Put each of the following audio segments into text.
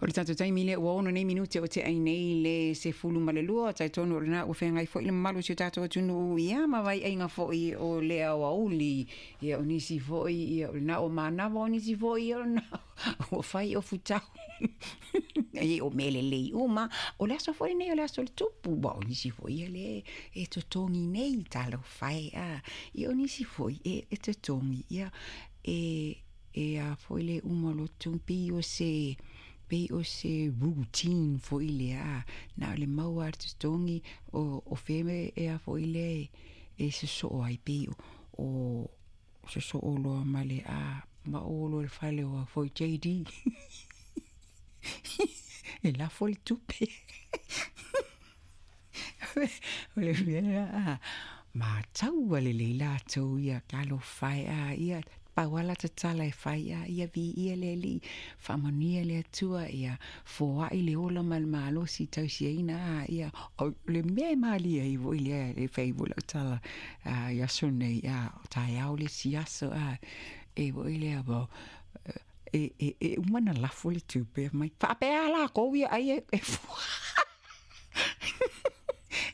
O le tatou taimi lea ua 6 nei minute o te'ai nei le 12, talitonu o lena ua feagai foi le mamalu o si o tatou atunuu ia ma vaiaiga foi o le aoauli. Ia o nisi foi ia o lena ua manava, o nisi foi ia o lena ua fai o futau. E o mea lelei uma. O le aso foi lenei o le aso o le tupu, ua o nisi foi ia le e totogi nei talofa e a. Ia o nisi foi e totogi ia e a foi le uma o lo totogi pei o se routine foi lea, na o le maua a le totogi o feme e a foi le e sosoo ai pei o sosoo loa ma le a ma o loa le fale o foi JD. E lafo le tupe. O le mea a mataua lelei latou ia talofa e a ia pau lava la tatala e fai a ia viia le Alii, faamanuia le Atua ia foai le ola ma le malosi tausiaina a ia o le mea e malie ai foi lea e fai foi lau tala i aso nei a taeao le isi aso a e foi lea e uma na lafo le tupe mai faapea lakou ia ai e fua.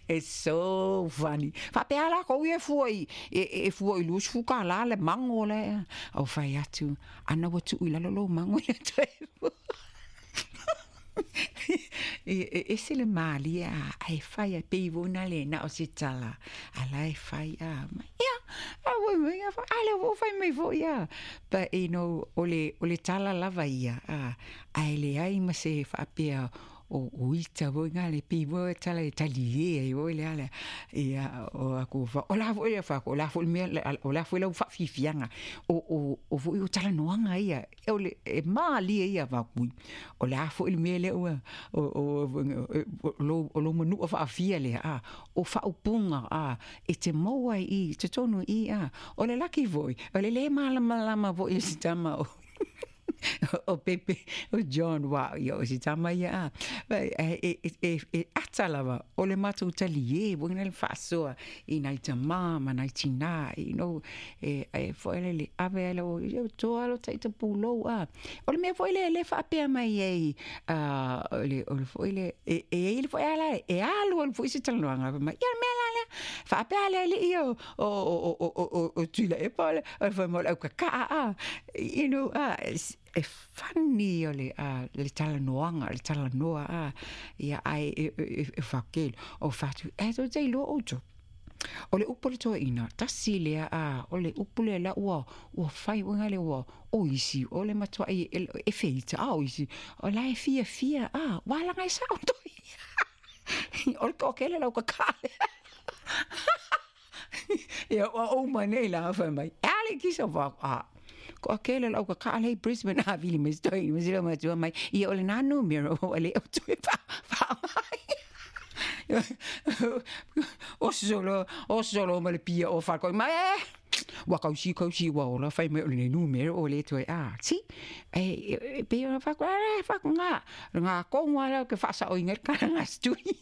It's so funny. Faapea lakou ia e fua i e fua i $20 le mago le au fai atu ana ua tuu i lalo lou mago i le toe fua. E ese le malie a e fai a pei foi na le na o se tala a la e fai a mai ia a foi mai a a le ua fai mai foi a. But you know o le tala lava ia a ae leai ma se faapea o ita foi ngā le pei foi tala e talie ai foi le ala ia o aku fa o la foi fa o la foi mea o la foi lau faafiafiaga o foi o talanoaga ia o le e malie ia fakui o le a foi le mea lea ua o lo manua faafia lea a o faaupuga a e te maua i totonu i a o le laki foi o le le malamalama foi e se tama o Pepe o John wa ia o se tama ia a e ata lava o le matou talie foi na le faasoa i nai tamā ma nai tinā, you know, e foi le ave ale o toa lo taita pulou a o le mea foi le le faapea mai ai o le foi le e e le foi ala e alu alu foi se talanoaga mai ia mea la le faapea le alii o tuila e pa le fai mai au kaka'a a, you know, a e funny o le le talanoaga le talanoa a ia ai e fakelo o fatu e to te iloa outou o le upu le toeaina tasi lea a o le upu lea la ua fai uiga le ua o isi o le matuai e feita a o isi o la e fiafia a ua laga e sa'o toi o le toakele lau kaka'a ia ua uma nei la fai mai e ale kisa fa a ko akele lau kaka'a lei Brisbane a vili mai toi mai sila matua mai ia o le nā numero o le o toe fa fa mai o solo ma le pia o fa ko mai ua kausi kausi ua ola fai mai o le numero o le toe a si e pe o fa ko fa ko ngā ngā konga la ke faasa'oina le kala ngā stui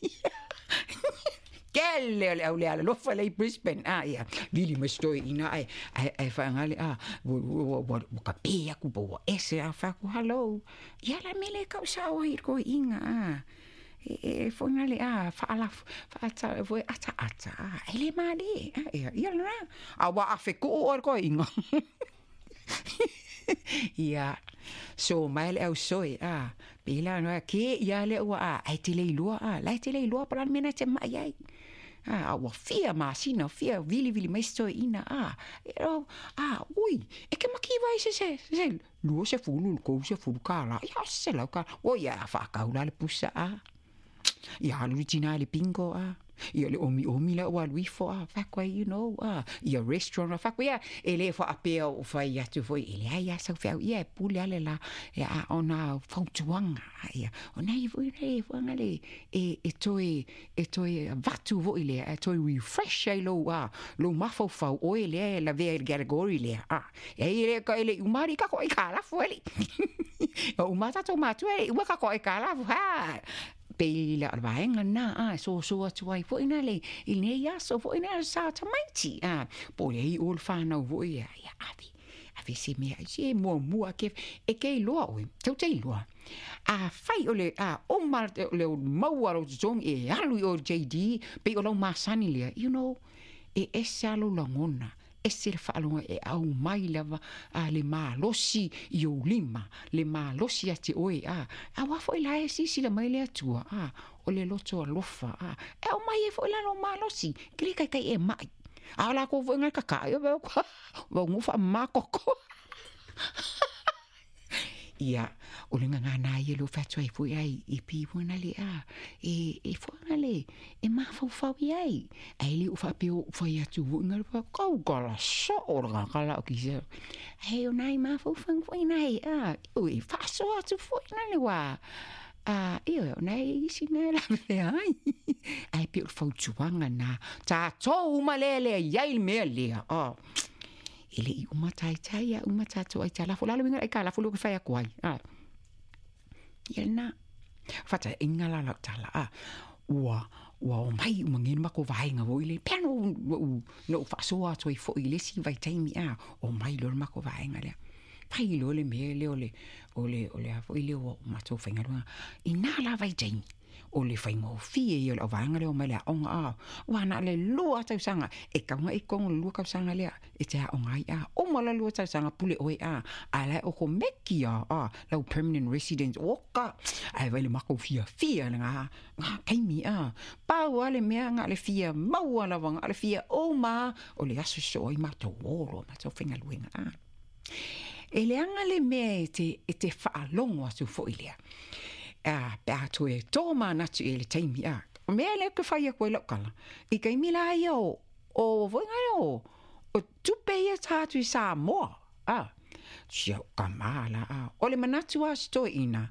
kele o le au le ala lofa lei Brisbane a ia vili mai stoi ina ai ai faagale a ua ka pe aku po ua ese a fa ko hello ia la mele kau sa'o ai ko inga a e foi le a faala faata foi ata ata a e le male a ia ia la a ua afe ku o ko inga ia so mai le au soe a pela no ke ia le ua a ai te le iloa a la te le iloa pa la mena te mai ai a ua fia masina fia vili vili mai soe ina a e a ui e ke maki vai se se se 20 30 kala ia se lau ka o ia whakau la le pusa a ia alu tina le bingo a ia le omi omi la ua luifo a whakua you know a ia restaurant a whakua ia e le whaapea o whai atu foi e le ai asa whiau ia e pule ale la e a ona fautuanga ia o nei foi nei whanga le e toe vatu voi le e toe refresh ai lou a lou mafaufau oe le la vea le category le a e le ka ele umari ka ko e ka la fueli o umata to matua e ua ka ko e ka la ha pe la vaenga na a so so atu ai foi na le i nei aso foi na sa tamaiti a po le i o le whanau foi ia avi Ave se mea ai se muamua ke e ke iloa oe, tou te iloa. Afai o le a uma le maua lou totogi e alu i o i le JD, pei o lau masani lea, you know, e ese lava lou lagona, ese le faalogo e aumai lava a le malosi i ou lima, le malosi ia te oe, a, aua foi la e silasila mai le Atua, a, o le loto alofa, a, e aumai ai foi la lou malosi, ke le taitai e mai. A o lakou foi ngai kakaʻi, o vau faamama koko. Ia, o le gagana ia lea ua fai atu ai foi ai i pi foi na le a, e, e foi na le, e mafaufau i ai. Ae le o faapea o fai atu foi na le kau kala soo le kala o kisa. Ae o nai mafaufau foi nai, a, ui, faasoa atu foi na le wā. A, ioe, o nai isi na la fea ai. Ae pei o le fautuaga na, tatou uma lea lea i ai le mea lea. Oh. E le i uma taitai a uma tatou aitalafu. O le a le uiga o le aitalafu lea ou te fai atu ai? A. Ia lena. Faataaiga la lau tala, a. Ua, ua omai uma nei le matou vaega foi lea. Pea na ou, na ou faasoa atu ai foi i le isi vaitaimi, a. Omai loa le matou vaega lea. Fai loa le mea lea o le, o le, o le a foi lea o matou faigaluega. I na la vaitaimi, o le faigofie ia o le auvaega lea omai le aoga a ua na o le 2 tausaga e tau na i totonu o le 2 tausaga lea e te aoga ai a uma la 2 tausaga pule oe a a la e okomeki a a lau permanent residence oka ae vai le makou fiafia le nga nga taimi a pau a le mea na o le fia maua lava na o le fia uma o le aso soo ai matou o loa matou faigaluega a E leaga le mea e te, e te faalogo atu foi lea. A, pe a toe tōmanatu i le taimi, a, o mea lea ke whai atu ai lau tala. I taimi la ia o, o foi ngai o, o tupe ia tātu i Samoa, a, sia o ka mā la, a, o le manatu a se toeina,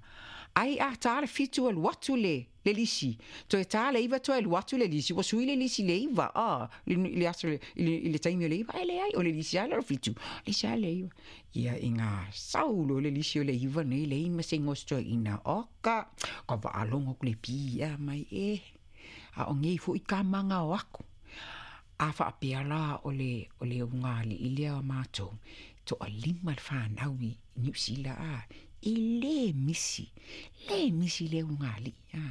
ai a tā le 7 alu atu le, le lisi, toe tā le 9 toe alu atu le lisi, ua sui le lisi i le 9, a, i le aso, i le taimi o le 9, ae leai, o le lisi lava lea o le 7, lisi lava le 9. Ia, i ngā sau loa le lisi o le 9 nei, leai ma se igoa o se toeaina, oka, ka faalogo atu le pī a mai, e, a o nei foi ka maga o aku. A faapea la o le, o le ulugalii lea o matou, toalima le fanau i Niu Sila, a, e le misi, le misi lea ulugalii, a,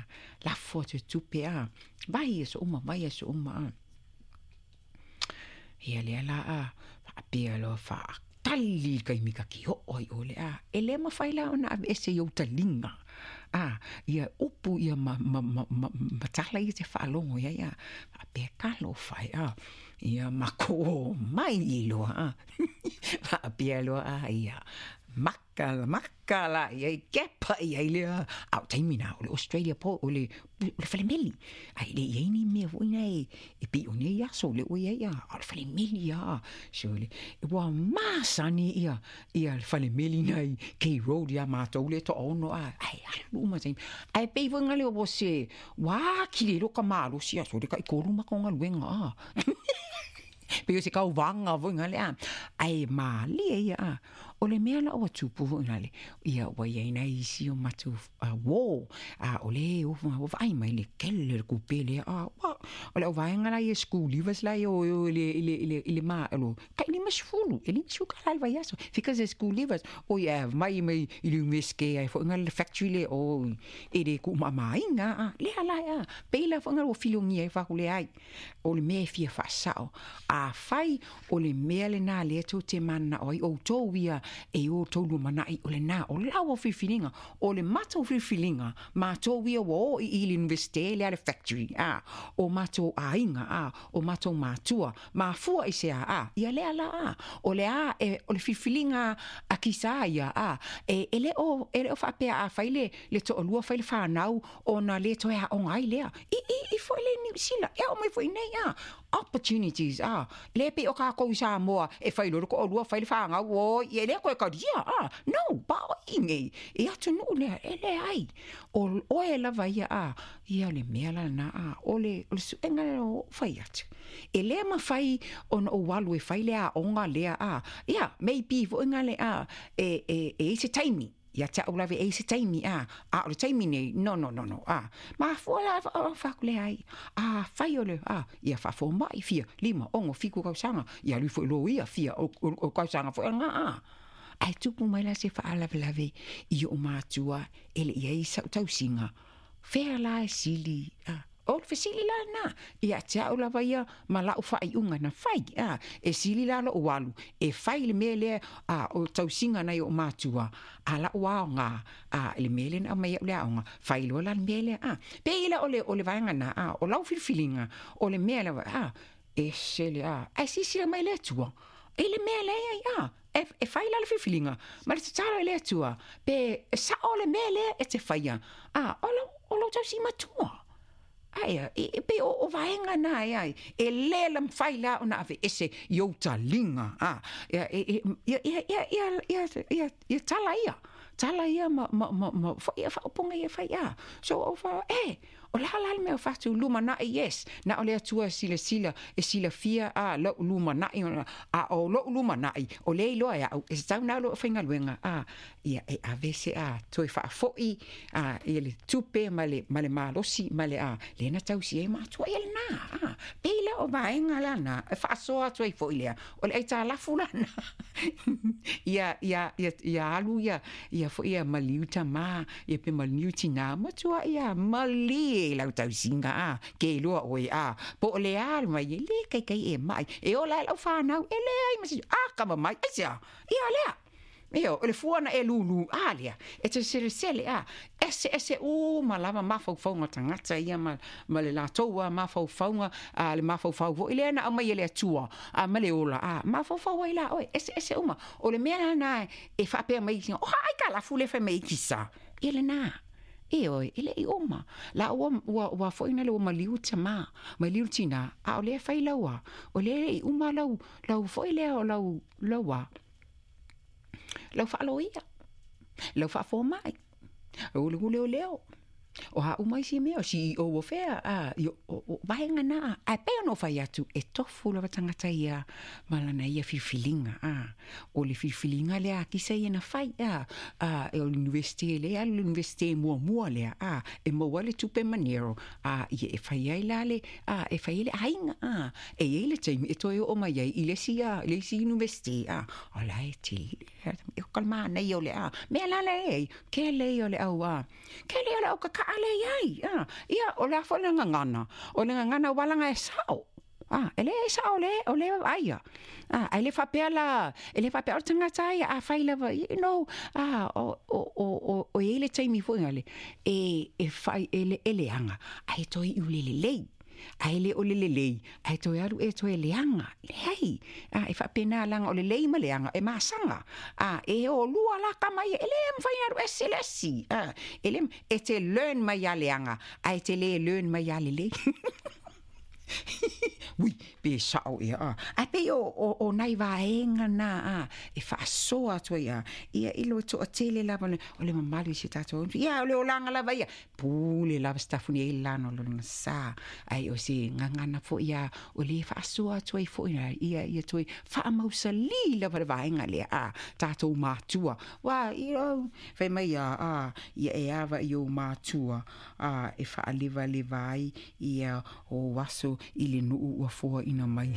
lafo atu e tupe, a, vai aso uma, vai aso uma, a. Ia lea la, a, faapea loa faatali le taimi ta te oo ai ʻo le, a, e le mafai la ona aveese i ou taliga, a, ia upu ia ma, ma, ma, ma, ma tala ia e te faalogo i ai, a, faapea talofa e, a, ia makou omai loa, a, faapea loa, a, ia, maka, maka la i ai, kepa i ai lea, a o taimi na, o le Australia po, o le, o le falemeli, a e le i ai ni mea foi na e, e pei o nei aso lea ua i ai, a, o le falemeli a, so le, ua masani ia, ia le falemeli na i K Road iā matou lea e toaono, a, ae alu uma taimi. Ae pei foi na leo ua se, ua atili ai loa ka malosi, a, sole taitolu matou galuega, a. Pei o se tauvaga foi na lea, ae malie ia, a. O le mea la ua tupu foi na le, ia ua i ai nai isi o matou uō, a o le ua vaai mai le kele o le kupe lea, a, ua, o le auvaega la ia school leavers la ia o i le, i le, i le, i le ma, o tai 50, e 50 kālā i le vaiaso, because they're school leavers, oi a mai mai i le Iunivesite ai foi na le factory lea o e le tuumaamāina, a, lea la, a, pei la foi na ua filiogia ai faaku leai. O le mea e fia faasao, afai o le mea lena lea tou te mananao ai outou ia e o outou lumanai, o lena, o lau filifiliga, o le matou filifiliga, matou ia ua o i i le Iunivesite lea le factory, a, o matou aiga, a, o matou matua, mafua i se a, a, ia lea la, a, o le a, e, o le filifiliga a kisa ia, a, e, e le o, e le o faapea afai le, le toalua fai le fanau ona le toe aoga ai lea. I, i, i foi le Niu Sila, e ao mai foi nei, a, opportunities, a, le pei o kākou i Samoa, e fai loa le toalua, fai le fanau, oi, e le toe talia, a, no, pa o i nei, i atunuu lea, e leai, o oe lava ia, a, ia le mea la lena, a, o le, o le suega lea o fai atu. E le mafai ona ou alu e fai le aoga lea, a, ia, maybe foi ngale, a, e, e, e i se taimi. Ia te a'u lava e i se taimi, a, a o le taimi nei, no, no, no, no, a. Mafua la, fai atu, leai, afai o le, a, ia faafoma'i fia, 5, 6, 7 tausaga, ia alu ifo i loia, fia, o tausaga foi lena, a. Ae tupu mai la se faalavelave i o'u matua e le i ai sa'u tausiga, fea la e sili, a. O le fesili la lena ia te a'u lava ia ma la'u faaiuga na fai, a. E sili la lo'u alu e fai le mea lea, a, o tausiga nai o'u matua, a la'u aoga, a, i le mea lea na aumai a'u le aoga, fai loa la le mea lea, a. Pei la o le vaega na, a, o lau filifiliga, o le mea lava, a, e sele, a, ae silasila mai le Atua i le mea lea ai, a, e fai la le filifiliga ma le tatalo i le Atua, pe sa'o le mea lea e te faia, a, o lau tausi matua. Aia, e pe o vaega na e ai, e lē la mafai la ona ave ese i ou taliga, a, ia, ia, ia, ia, ia, ia, ia, ia tala ia, tala ia ma, ma, ma, ma foi ia faaupuga ia fai, a. So, o fa, e, o la la le mea o fatu lumana'i, yes, na o le Atua silasila, e silafia, a, la'u lumana'i, a o lo'u lumana'i, o le iloa e a'u, e tatau na lo'u faigaluega, a, ia e ave se, a, toe faafo'i, a, ia le tupe ma le malosi ma le, a, lea na tausi ai matua ia lena, a. Pei la o vaega lana, e faasoa atu ai fo'i lea, o le aitalafu lana, ia, ia, ia, ia alu ia, ia fo'i ia maliu tamā, ia pe maliu tinā, matua ia malie lau tausiga, a, ke iloa oe, a, po o le a le mai, e lē kaikai e ma'i, e ola ai lau fanau, e leai ma se, a, kama mai, aisea, ia lea, Io, o le fua na e lulu, a lea, e te selesele, a, ese ese uma lava mafaufauga tagata ia ma le latou a mafaufauga, a, le mafaufau fo'i lea na aumai e le Atua, a, ma le ola, a, mafaufau ai la oe, ese ese uma. O le mea lana e faapea mai, o ha ai ka lafu le fai mai kisa, ia lena. E oe, e le i uma. La ua, ua, ua foi na le ua maliu tamā, maliu tinā, a o lea fai lau a, o lea i uma lau, lau foi lea o lau, lau a, lau faaloia, lau faafoma'i, o le leoleo, o a uma isi mea, o CEO o fea, a, i, o vaega na, a pei ona ou fai atu, e tofu lava tagata ia ma lana ia filifiliga, a, o le filifiliga lea a kisa ia na fai, a, a, e o le university le alu le university muamua lea, a, e maua le tupe manero, a, ia e fai ai la le, a, e fai ai le aiga, a, e i ai le taimi e toe oo mai ai i le isi, a, le isi university, a, o la e tele, e o kalmana ia o le a, mea la le ei, ke le o le au, a, ke le o le au kaka'a le iai, a, ia, o le a foi le gagana, o le gagana walaga e sa'o, a, e le e sa'o le, o le aia, a, ai le faapea la, e le faapea o le tagata ai, a fai lava, you know, a, o i ai le taimi foi ngale, e fai, e le, e leaga, ai toe iu le lelei, ai le o le lelei, ai toe alu e toe leaga, leai, a, e faapena laga o lelei ma leaga, e masaga, a, e o lua la kama ia, e le mafai na alu ese le esi, a, e le, e te learn mai ia leaga, ae te le learn mai ia lelei. Ui, pe sa'o ia, a. Ae pei o nai vaega na, a, e faasoa atu ai, a, ia i lo to'atele lava o le mamalu i si o tatou ia o le olaga lava ia pule lava setafuni ai lana o lona sa, ai o se gagana fo'i a o le faasoa atu ai fo'i ia ia toe faamausalī lava le vaega lea, a, tatou matua wa ia fai mai a, a ia e ava i ou matua, a, e faalevaleva ai ia o aso i le nuu ua foaina mai.